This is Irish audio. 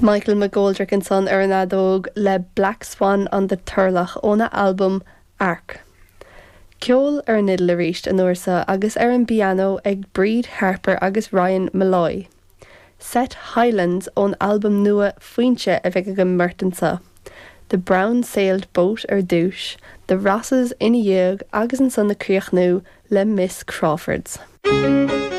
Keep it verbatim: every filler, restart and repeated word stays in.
Michael McGoldrick ansan ar an fheadóg le Black Swan on the Turlough óna albam Arc. Ceol ar an fhidil arís an uair seo agus ar an bpianó ag Bríd Harper agus Ryan Molloy. Set Highlands ón albam nua Foinse a bheidh ag an mbeirt anseo. The Brown Sailed Boat ar dtús, The Rosses ina dhiaidh agus ansan ag críochnú le Miss Crawfords.